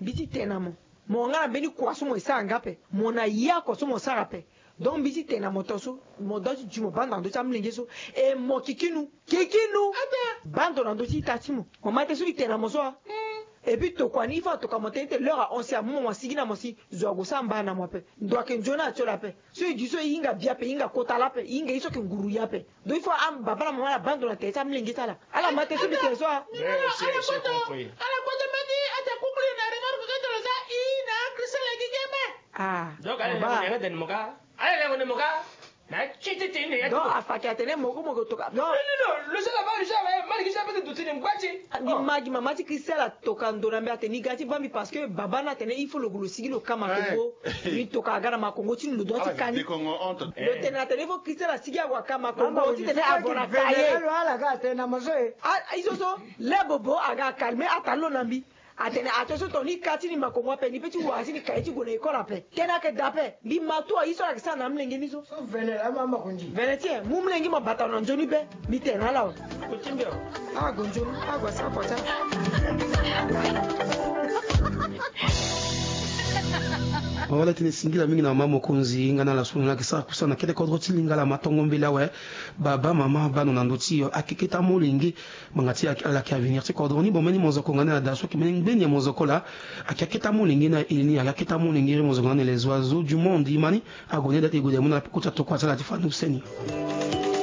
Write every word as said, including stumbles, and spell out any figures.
Mbi ti tene na mo, mo nga na mbeni kua so mo e sara nga ape, mo na ya kua so mo sara ape. Donc mbi ti tene na mo tongaso, mo doit ti duti mo bando na ndö ti amolenge so. E mo kikinu, kikinu, bando na ndö ti ita ti mo. Mo ma tënë so mbi tene na mo so a. Et puis tokua ni, il faut atoka mo tënë ti tene l'heure ahon si amu mo, mo asigi na mo si zo ague sara mbaa na mo ape. Ndo ayeke nzoni na ti lo ape. So e duti so e hinga bia ape, e hinga kota laa ape, e hinga ye so ayeke nguru ye ape. Donc il faut ababa na mama ala bando na tere ti amolenge ti ala. Ala ma tënë so mbi tene so a. Ala kota mbeni, ata kukuli na remarque ke tene so a i na Christelle ayeke ge me. Ah. Donc ala yeke nde mo ka. Ala yeke nde mo ka. Na ti ti ti ni. Donc afa ayeke atene moko moko toka. Donc lo so laba lo so laba ma leke so ape ti duti ni ngba ti. Ni ma gi mama ti Christelle atoka ndo na mbi atene ni ga ti vambi parce que baba ni atene il faut lo gue lo sigi lo ka makongo. Ni toka aga na makongo ti ni lo doit ti ka ni. Lo tene atene il faut Christelle asigi ague aka makongo ti tene avo na ka ye. Lo ala ga atene na mo so e. Ah, i so so le bobo aga acalme ata lo na mbi. Atene ato so tongana ni ka ti ni makongo ape ni pe ti wara ti ni ka ye ti gue na école ape. Tënë ayeke daa ape. Mbi ma tout aye so ala yeke sara na amolenge ni so. Vene ti e mu molenge mo bata na nzoni be. Mbi tene na ala awe. Awe gonzoni awe asara kua ti ala. Mawa ala tene singila mingi na mama mokonzi nga na ala so na ala yeke sara kusana na kete kodro ti lingala ma tongo mbela awe. Baba mama bando na ndö ti yo akeketa molenge. Ngbanga ti ala yeke avenir ti kodro ni. Bomeni mozoko nga na ala daa so ayeke mbeni ngbeni ya mozoko laa. Ayeke aketa molenge na eleni ayeke aketa molenge iri mozoko nga na les oiseaux du monde imani. Ague ni daa ti e gue daa e mu na ala peko ti atokua ti ala ti fani use ni.